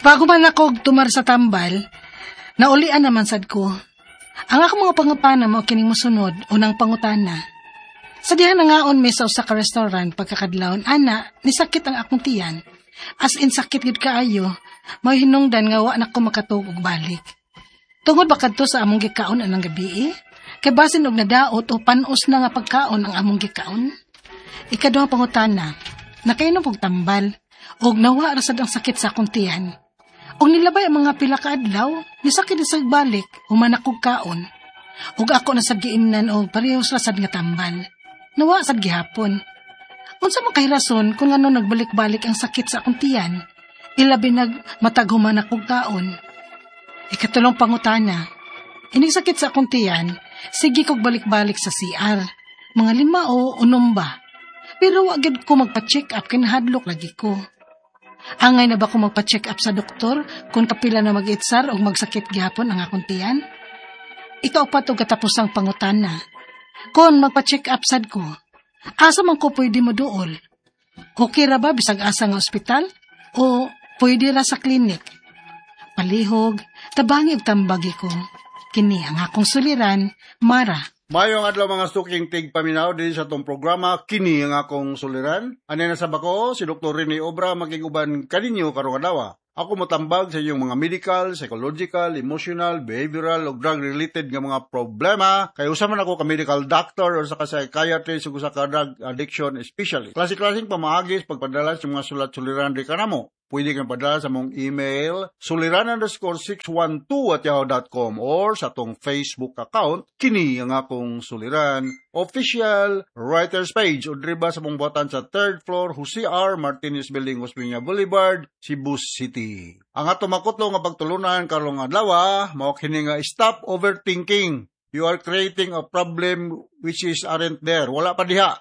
Bago man ako tumar sa tambal, naulian naman sad ko. Ang akong mga pangutana mao kining mosunod, unang pangutana. Sa diha nangaon mi sa usa ka restaurant pagkakadlawon, ana, nisakit ang akong tiyan. As in sakit gid kaayo, may hinungdan nga wa na ko makatuog og balik. Tungod ba kadto sa among gikaon anang gabi? Kay basin og nadaot o panos na nga pagkaon ang among gikaon? Ikaduhang pangutana, nakainom og tambal, og nawa ra sad ang sakit sa akong tiyan. Og nilabay ang mga pila ka adlaw, nisakit na sad balik, human akog kaon. Og ako na sad giimnan og parehas ra sad nga tambal. Nawa sad gihapon. Unsa man kay rason kung ano nagbalik-balik ang sakit sa akong tiyan? Ilabi nag matag human akog kaon. Ikatulong pangutana, ining sakit sa akong tiyan, sige kog balik-balik sa CR. Mga 5 o 6 ba. Pero wa gyud ko magpa-check up kay nahadlok lagi ko. Angay na ba ko magpa-check up sa doktor kung kapila na mag-itsar o magsakit gihapon ang akong tiyan? Ikaupat og katapusang pangutana, kung magpa-check up sad ko, asa man ko pwede mo duol? Okay ra ba bisag asa nga ospital? O pwede ra sa klinik? Palihog, tabangi og tambagi ko. Kini ang akong suliran, Mara. Mayong adlaw mga suking tigpaminaw din sa atong programa kini ang akong suliran. Ani na sa bako si Dr. Rene Obra makig-uban kaninyo karong adlaw. Ako motambag sa inyong mga medical, psychological, emotional, behavioral ug drug-related nga mga problema. Kay usa man ako ka medical doctor or sa ka psychiatrist ug usa ka drug addiction specialist. Klase-klaseng pamaagi sa pagpadala sa mga sulat-suliran di kanamo. Pwede kang padala sa mong email suliran_612@yahoo.com or sa atong Facebook account kini ang akong suliran official writers page o driba sa mong buhatan sa third floor Jose R. Martinez Building, Osmeña Boulevard, Cebu City. Ang atong makutlo nga pagtulunan karong adlaw mao kini nga stop overthinking. You are creating a problem which is aren't there. Wala pa diha.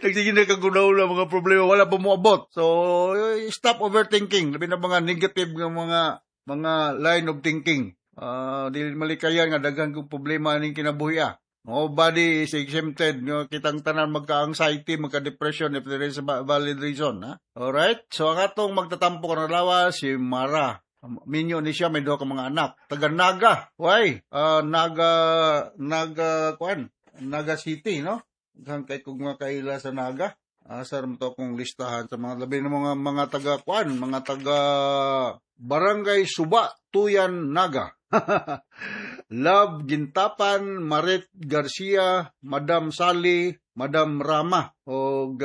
Nagsige na kag huna-huna mga problema, wala pa moabot. So, stop overthinking. Labi na mga negative nga mga line of thinking. Dili malikayan nga daghan kong problema ning kinabuhi ah. Nobody is exempted. No? Kitang tanan magka-anxiety, magka-depression if there is a valid reason. Ha? Alright? So, ang atong magtatampo karong adlaw, si Mara. Minyo ni siya, may duha ka mga anak. Taga Naga. Why? Naga, Naga, kuan? Naga City, no? Daghan kay kog mga kaila sa Naga. Asa ra to akong listahan sa mga labi ng mga taga kuan, mga taga Barangay Suba, Tuyan, Naga. Love Gintapan, Maret Garcia, Madam Sally, Madam Rama. Og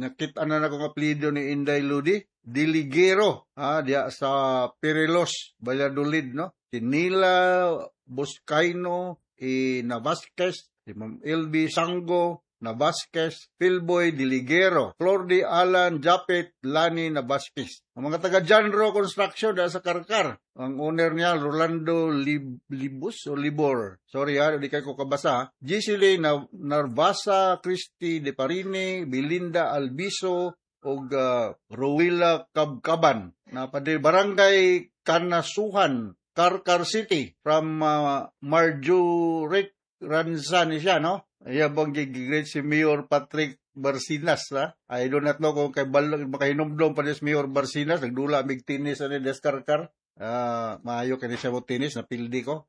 nakita na nako nga apelyido ni Inday Ludi. Diligero, diya sa Perilos, Valladolid, no? Si Nila Boscaino, i Navasquez, si Ma'am LB Sango, Navasquez, Philboy Diligero, Flordi Alan Japet, Lani Navasquez. Ang mga taga Janro Construction dahil sa Carcar. Ang owner niya, Rolando Libus o Libor. Sorry ha, di kayo ko kabasa. Gisele Narvasa, Christy De Parini, Belinda Albiso, og Rowila Kabkaban. Napadi Barangay Kanasuhan, Carcar City, from Marjorie Ranza ni siya, no? Iya bang gigreet si Mayor Patrick Barcinas, ha? I do not know kung kay balog, makahinumdom pa ni si Mayor Barcinas, nagdula mig tennis ani des Carcar. Maayo kini siya mo tennis, napildi ko.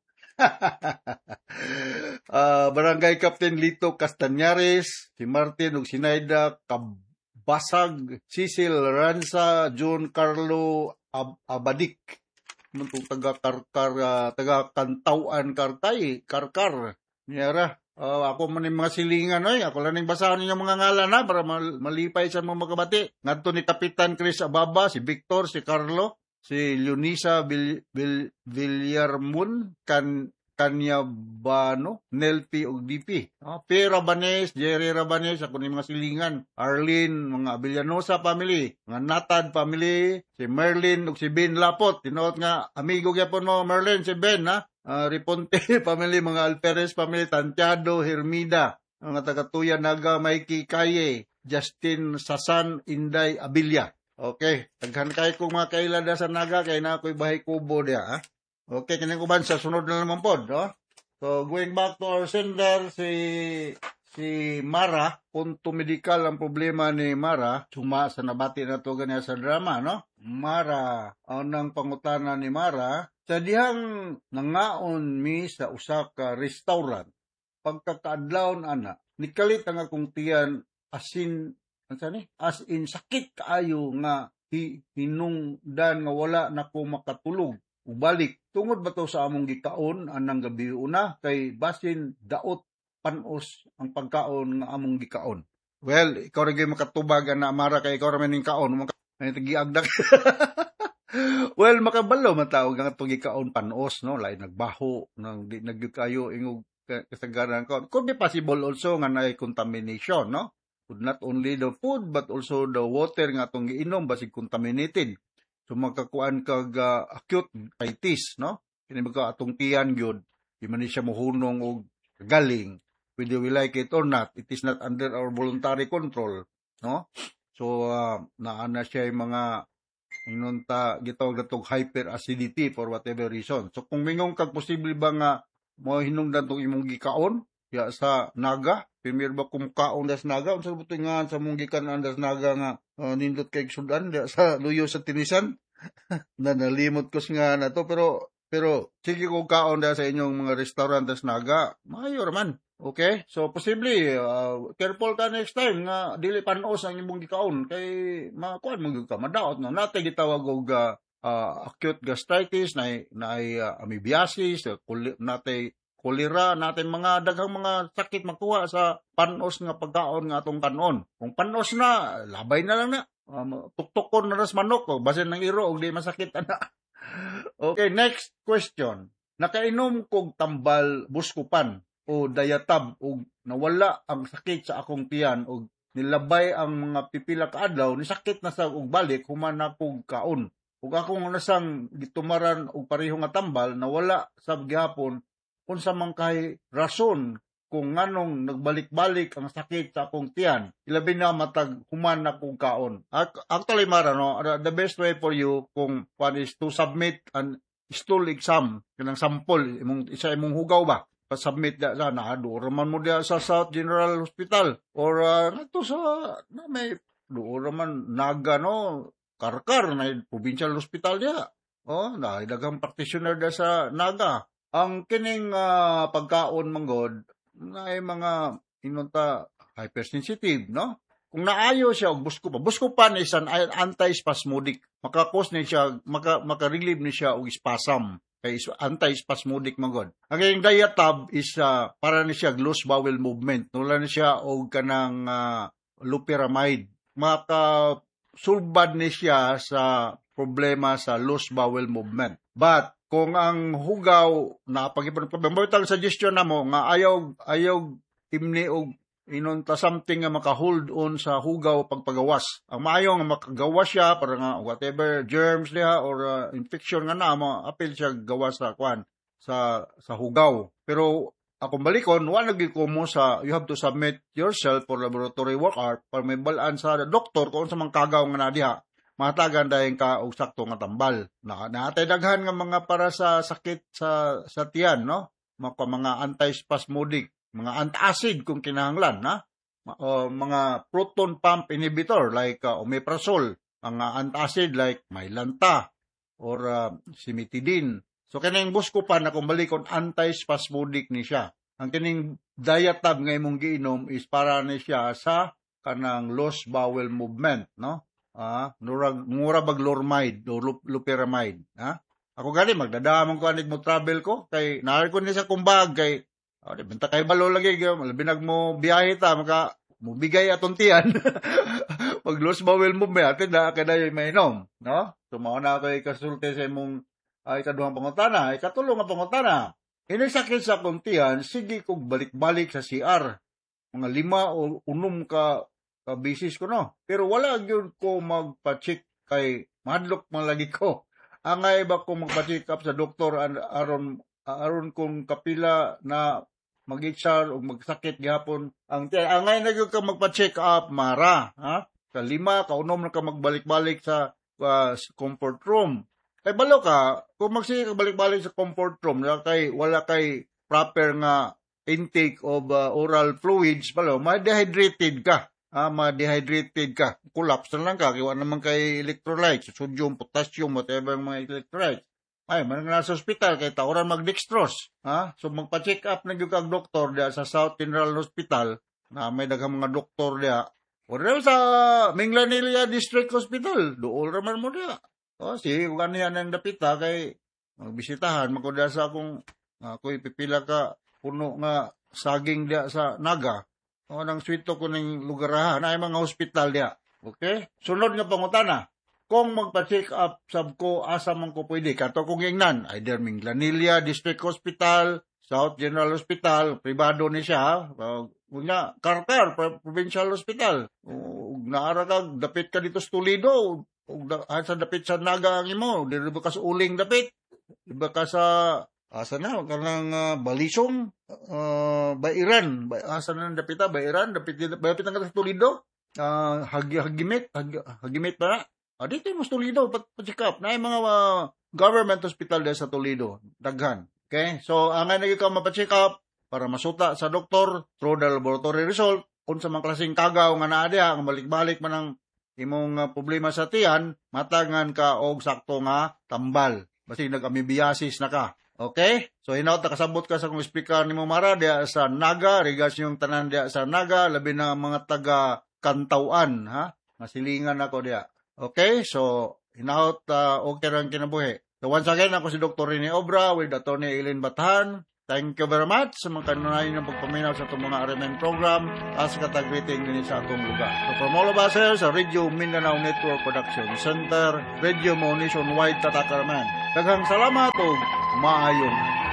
Barangay Captain Lito Castañares, si Martin ug Sinaida Kabasag, Cecil Ranza, John Carlo Abadik. Muntong taga Carcar, taga Kantawan Karkay, Carcar. Niyara. Ako man yung mga silingan, oy. Ako lang ning basahan ninyo mga ngalan, ha, para malipay sa mga makabati. Ngadto ni Kapitan Chris Ababa, si Victor, si Carlo, si Leonisa Villarmun, Kanyabano, Nelpi ug DP. P. Rabanes, Jerry Rabanes, ako ni mga silingan. Arlene, mga Villanosa family, mga Natad family, si Merlin ug si Ben Lapot. Tinuot nga amigo gyapon mo Merlin, si Ben, ha? Riponte family, mga Alperes family, Tantiado, Hermida, mga taga-Tuya, Naga, Mikey Kaye, Justin Sasan, Inday, Abilia. Okay, daghan kay kong mga kaila da sa Naga, kay na ako'y bahay kubo diya, ha? Okay, kining uban sa sunod na naman pod, no? So, going back to our sender, si Si Mara, punto medikal ang problema ni Mara, suma sa nabati na to ganiya sa drama, no? Mara, ang pangutana ni Mara, sa dihang nangaon mi sa usa ka restaurant, pagkakaadlawon ana, nikalit ang akong tiyan asin, unsa ni? As in sakit kaayo nga hinungdan nga wala na ko makatulog. Ubalik, tungod ba to sa among gikaon anang gabi una kay basin daot panos ang pagkaon nga among gikaon? Well, ikaw ra gyud makatubag ana, Mara, kay ikaw ra man ning kaon. Ay giagdak. Well, makabalo man tao nga atong gikaon panos, no? Lain nagbaho, nang di nagyud kayo ingog kasagaran kaon. Could be possible also nga naay contamination, no? Could not only the food but also the water nga atong giinom basig contaminated. So makakuan kag acute itis, no? Kini ba atong tiyan gyud, di man ni siya mohunong og galing. Whether we like it or not, it is not under our voluntary control, no? So naa na siya yung mga ingon ta gitawag natong hyperacidity for whatever reason. So kung mingon kag posible ba nga mo hinungdan tong imong gikaon ya sa Naga, premier ba kung kaon das Naga, unsa ba nga sa mong gikan das Naga nga nindot kay sudan diya sa luyo sa Tinisan na nalimot ko nga na to, pero sige, kung kaon da sa inyong mga restaurant das Naga, maayo man. Okay? So posible careful ka next time nga dili panos ang imong gikaon kay makuan man gyud ka, madaot no. Natay gitawag og acute gastritis, na amoebiasis, natay kolera, natay mga daghang mga sakit makuha sa panos nga pagkaon nga atong kanon. Kung panos na, labay na lang na. Tuktukon na ras manok o basin ng iro og di masakit ana. Okay, next question. Nakainom kog tambal Buscopan o Diatab og nawala ang sakit sa akong tiyan og nilabay ang mga pipila ka adlaw, nisakit na sa og balik human na kog kaon. Ug akong nasang gitumaran og pareho nga tambal, nawala sab gihapon. Unsa man kay rason kung nganong nagbalik-balik ang sakit sa akong tiyan, ilabi na matag human na kong kaon? Actually, Mara, no, the best way for you kung one is to submit an stool exam, kanang sample imong isa imong hugaw ba, pa-submit da sa na duol man mo diya sa South General Hospital or ngadto sa na may duol man Naga, no, Karkar na provincial hospital diya. Oh, na daghang practitioner da sa Naga. Ang kining pagkaon manggod na ay mga inunta hypersensitive, no? Kung naayo siya og Buscopan. Buscopan is an anti-spasmodic. Makakos ni siya, maka-relieve ni siya og spasm. Kay anti-spasmodic man. Ang kayong Diatab is para ni siya loose bowel movement. Nula ni siya og kanang loperamide. Maka sulbad ni siya sa problema sa loose bowel movement. But kung ang hugaw na pag problema, suggestion na mo nga ayaw ayaw imni og inunta something nga maka-hold on sa hugaw pagpagawas. Ang maayo nga makagawas siya para nga whatever germs diha or infection nga na mo apil siya gawas sa kwan sa hugaw. Pero akong balikon, wala gyud ko mo sa you have to submit yourself for laboratory work up para may balaan sa doktor kung unsa man kagaw nga na diha. Mahatagan dayon ka og sakto nga tambal. Na naatay daghan nga mga para sa sakit sa tiyan, no? Mga anti-spasmodic, mga antacid kung kinahanglan, na o mga proton pump inhibitor like omeprazole, mga antacid like Mylanta or cimetidine. So kining Buscopan na kung balikon, anti-spasmodic ni siya. Ang kining Diatab nga imong giinom is para ni siya sa kanang loose bowel movement, no? Ah, nurag mura bag Lormide o loperamide, ha? Ako gani magdadamon ko anig mo travel ko kay naa ko ni sa kumbag kay oh, di benta kay balo lagi labi nag mo biyahe ta, maka mubigay atong tiyan. Pag loose bowel movement atin na kay dayoy mainom, no? So mao na kay kasulti sa imong ay kaduhang pangutana. Ikatulo nga pangutana. Ini sakit sa akong tiyan, sige kog balik-balik sa CR. Mga 5 o 6 ka bisis ko, no. Pero wala gyud ko magpa-check kay mahadlok man lagi ko. Angay ba ko magpa-check up sa doktor aron aron kung kapila na mag-HR o magsakit gihapon ang tiyan? Angay na gyud ka magpa-check up, Mara, ha? Sa 5 ka 6 na ka magbalik-balik sa comfort room. Kay balo ka, kung magsige ka balik-balik sa comfort room, wala kay proper nga intake of oral fluids pala, ma-dehydrated ka. Ma-dehydrated ka. Collapse na lang ka. Kaya naman kay electrolytes, sodium, potassium, whatever mga electrolytes. Ay, man nga sa ospital, kay tauran mag-dextrose. Ha? So, magpa-check up na gyud kag doktor diya sa South General Hospital, na may daghang mga doktor diya. O sa Minglanilla District Hospital, duol raman mo diya. O, sige, kung ano yan ang dapita, kay magbisitahan, magkuda sa akong, ako'y pipila ka puno nga saging diya sa Naga. O, nang swito ko ning lugarahan, na mga hospital diya. Okay? Sunod nga pangutana. Kung magpa-check up sab ko, asa man ko pwede? Kato kong ingnan, either Minglanilla District Hospital, South General Hospital, pribado ni siya. Nga, Carcar, Provincial Hospital. Ug naara ka, dapit ka dito sa Toledo, ug sa dapit sa Naga ang imo, diri ba ka sa Uling dapit? Di ba ka sa, asa na, kanang Balisong, Bairan, asa na ang dapita, Bairan, dapit, dapit na ka sa Toledo, Hagimit, Hagimit ba na? Dito yung mas Toledo, pa-check up. Na yung mga government hospital dyan sa Toledo, daghan. Okay? So, ang nga ka mapa-check up para masuta sa doktor through the laboratory result, kung sa mga klaseng kagaw nga naa diha, nga balik-balik man ang imong problema sa tiyan, matangan ka og sakto nga tambal. Basig nag-amoebiasis na ka. Okay? So, hinaut nakasabot ka sa kung speaker nimo Mara diha sa Naga, regards yung tanan diha sa Naga, labi na mga taga Kantawan, ha? Masilingan ako diha. Okay? So, hinaut okay rang kinabuhi. So, once again, ako si Dr. Rene Obra with Atty. Eileen Bathan. Thank you very much sa mga kanunayan ng pagpaminaw sa itong mga RMN program as katag-greeting din sa atong lugar. So from all of us here sa Radio Mindanao Network Production Center, Radio Mo Nationwide Tatakaraman. Daghang salamat ug maayong